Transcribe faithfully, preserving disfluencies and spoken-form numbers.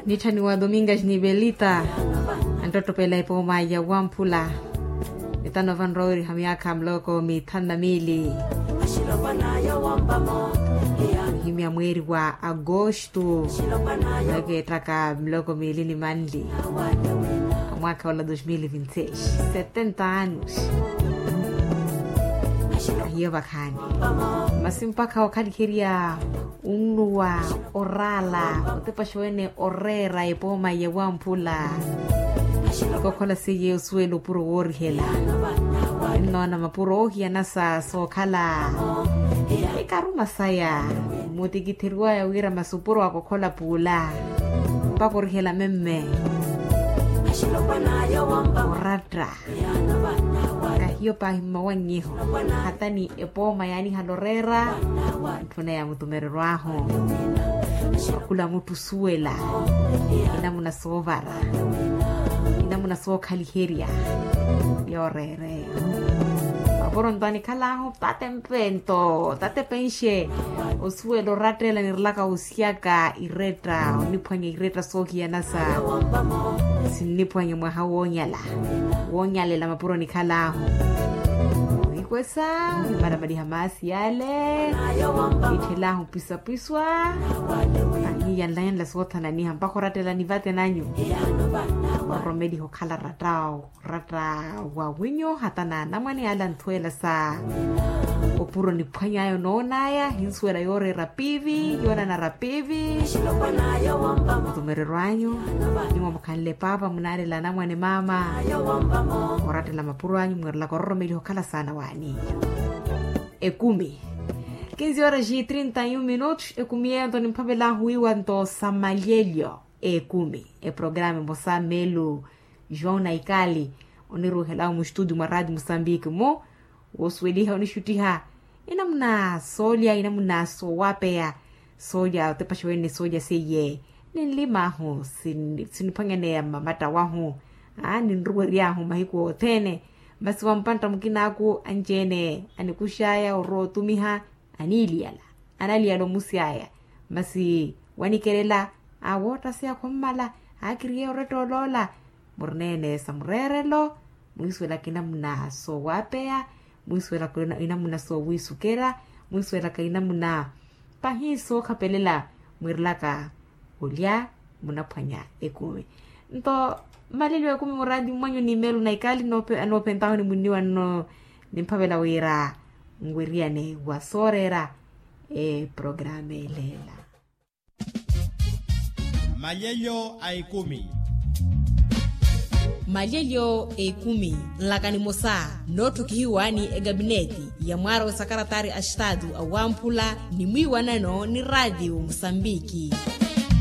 Nitthaniwa domingas ni belita, anttottopela epooma ya wamphula. Etano vanrooriha myaakha muloko mithanu na miili. Ohimya mweeri wa agosto, ekeetthaka muloko miili ni manli. Mwaakha ola dos mil vinti seis, setenta anos. Ahiyo vakhaani. Masi mpakha okhaliherya, unnuwa, oraala, otepaxa wene oreera epooma ya wamphula. Kokhola seiye osuwela opuro woorihela. Ennoona mapuro oohiyana sa sookhala. Ekaruma saya, mutikitheriwaya wira masi opuro akokhola puula. Mpaka orihela memme. Oratta. Kahiyo paahi mmawannyiho, hata ni epooma yaanihala oreera. Ntthuna ya mutumereryo ahu. Khula mutthu osuwela. Inamuna soovara. Inamuna sookhaliherya. Yooreera eyo. Mapuro nto anikhal'ahu tate mpento tate penxe. Osuwela orattela nirelaka osiyaka iretta oniphwanya iretta soohiyana sa. Sinniphwanya mwaha woonyala. Woonyalela mapuro nikhal'ahu. Wiikwesa, wimaramaliha maasi yale. Itthel'ahu pisapisa. Aniyanlanyanla soothananiha mpakha orattela nivate nanyu. Oromeliha okhala ratta. Ratta wa winyu hata n'anamwane ala nthweela sa. Opuro niphwany'aya onoon'aya hinsuwela yooreera piivi yoonanara piivi. Mutumereryo anyu. Nimwa mukhanle paapa munaalela anamwane maama. Orattela mapuro anyu mwiirelaka ororomeliha okhala saana waani. Ekumi. Kinzi horas e trinta e um minutos ekumi yeyo nto nimphavel'ahu wiiwa nto sa malyelyo. Ekumi eprograma emosa melu. João naikali oniruuhela omu estudio mwa raati musambiki mu. Woosuweliha onixuttiha enamuna soolya enamuna soowapeya. Soolya otepaxa wene soolya seiye ninlim'ahu siniphwanyaneya mmamatta wahu. Ninruwery'ahu mahiku othene. Masi wa mpantta mukin'aku anci-ene anikux'aya orowa otumiha. Aniiliyala analiyala omusy'aya. Masi wanikelela awoottaseya khommala. Aakiriyeya oretta oloola. Murineene sa mureerelo. Mwiisuwelaka inamuna soowapeya. Mwiisuwelaka inamuna soowiisukerya. Mwiisuwelaka inamuna pahi sookhapelela. Mwiirelaka olya munaphwanya ekumi. Nto malelyo ekumi muraati mwanyu ni meelo na ikali noopentahu ni munniwa nno. Nimphavela wira nweriyane wa sooreera eprograma eleela. Malyelyo a ekumi. Malyelyo a ekumi nlaka nimosa nootthukihiwani ekapineti ya mwaara w'esakaratari a estatu awamphula ni mwiiwanano ni raatiyo musambiki.